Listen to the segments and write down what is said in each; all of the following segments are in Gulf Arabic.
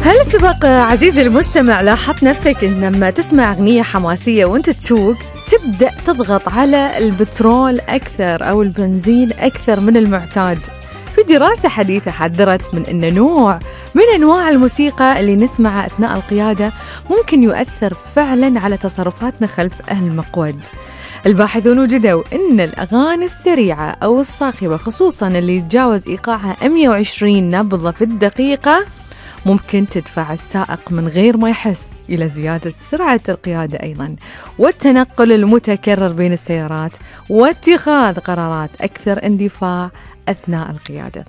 هل سبق عزيزي المستمع لاحظت نفسك إن لما تسمع أغنية حماسية وانت تسوق تبدأ تضغط على البترول أكثر أو البنزين أكثر من المعتاد؟ في دراسة حديثة حذرت من أن نوع من أنواع الموسيقى اللي نسمعها أثناء القيادة ممكن يؤثر فعلا على تصرفاتنا خلف المقود. الباحثون وجدوا أن الأغاني السريعة أو الصاخبة خصوصا اللي يتجاوز إيقاعها 120 نبضة في الدقيقة ممكن تدفع السائق من غير ما يحس إلى زيادة سرعة القيادة أيضاً، والتنقل المتكرر بين السيارات، واتخاذ قرارات أكثر اندفاع أثناء القيادة.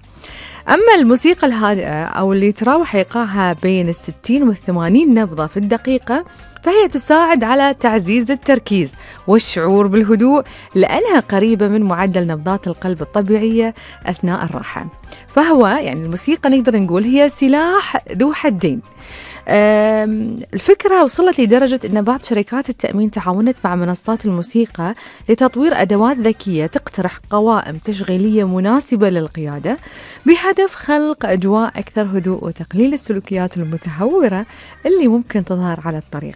أما الموسيقى الهادئة أو اللي تراوح إيقاعها بين 60 و80 نبضة في الدقيقة فهي تساعد على تعزيز التركيز والشعور بالهدوء لأنها قريبة من معدل نبضات القلب الطبيعية أثناء الراحة. فهو يعني الموسيقى نقدر نقول هي سلاح ذو حدين. الفكرة وصلت لدرجة أن بعض شركات التأمين تعاونت مع منصات الموسيقى لتطوير أدوات ذكية تقترح قوائم تشغيلية مناسبة للقيادة بهدف خلق أجواء أكثر هدوء وتقليل السلوكيات المتهورة اللي ممكن تظهر على الطريق.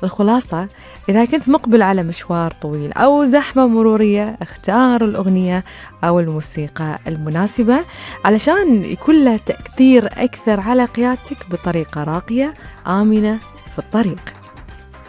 الخلاصة، إذا كنت مقبل على مشوار طويل أو زحمة مرورية اختار الأغنية أو الموسيقى المناسبة علشان يكون لها تأثير أكثر على قيادتك بطريقة راقية آمنة في الطريق.